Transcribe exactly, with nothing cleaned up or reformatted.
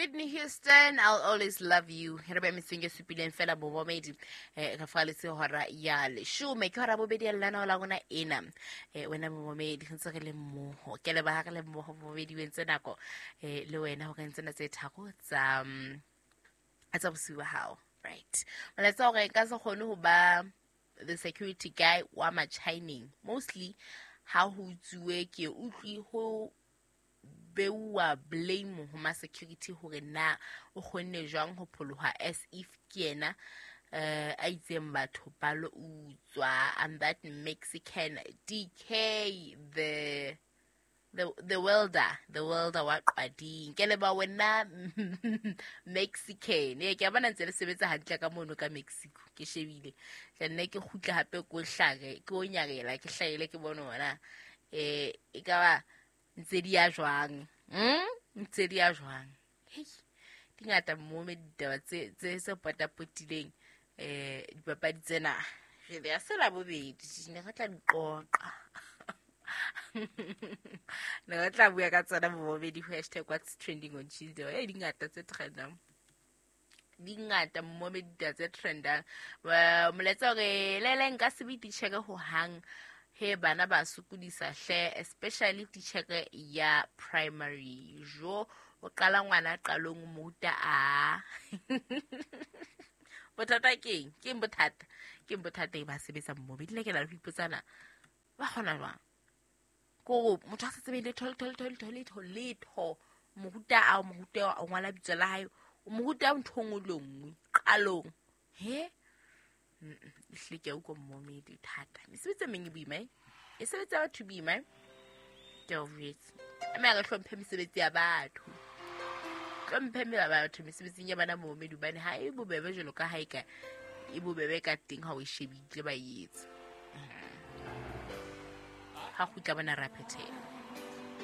Whitney Houston, I'll Always Love You. Re be metseng e supileng fela momedi, eh re faletse hora ya leshome, ke hora bobedi ya lenaneo la rona ena. Eh wena momedi, re ntse re le mmoho, ke leboha re le mmoho momedi, o entse nako eh le wena hore tsena tse tharo tsa mm, tsa bosiu ba hao. Right, molaetsa hore nka se kgone ho ba the security guy wa Machineng, mostly ha ho utsuwe ke utlwi ho beuwa blame ho ma security hore na o kgonne jwang ho pholoha, as if ke yena eh a itseng batho ba lo utswa. And that Mexican D K, the the the welder the welder wa Qwading, ke leba wena Mexican. Ee, ke a bona ntse le sebetsa hantle ka mono ka Mexico. Ke shebile tla nne ke kgutla hape, ko hlare ke o nyarela, ke hlahele ke bone hona eh e ka ba ntse di ya jwang, mm ntse di ya jwang. Hei, di ngata mme ditaba tse tse se potapotileng eh dipapadi tsena re ya se la bobedi ne re tla di qoqa, ne re tla bua ka tsona bobedi. Hashtag what's trending on Tuesday. E di ngata tse trendang, di ngata mme ditaba tse trendang. Molaetsa hore lele nka se be titjhere ho hang, he bana ba sokodisa hle, especially titjhere ya primary. Jo, o qala ngwana qalong o mo ruta a bothata keng, keng bothata, keng bothata e ba sebetsa mmobe dile. Ke na le ho ipotsana ba kgona jwang kore motho a sa tsebe letho, letho, letho, letho, letho, letho, mo ruta a o mo ruta o ngwala bitso la hae, o mo ruta ntho e nngwe le nngwe qalong. He, ehlile ke a utlwa mmomedi, thata mesebetsi e meng e boima, e mesebetsi ya batho e boima, e ke a o jwetse. Mme re hlomphe mesebetsi ya batho, hlomphe batho mesebetsing ya bana momedi, hobane ha e bobebe jwalo ka ha e ka e bobebe ka teng ha o e shebile ba e etsa. Ha kgutla bona ra phethela.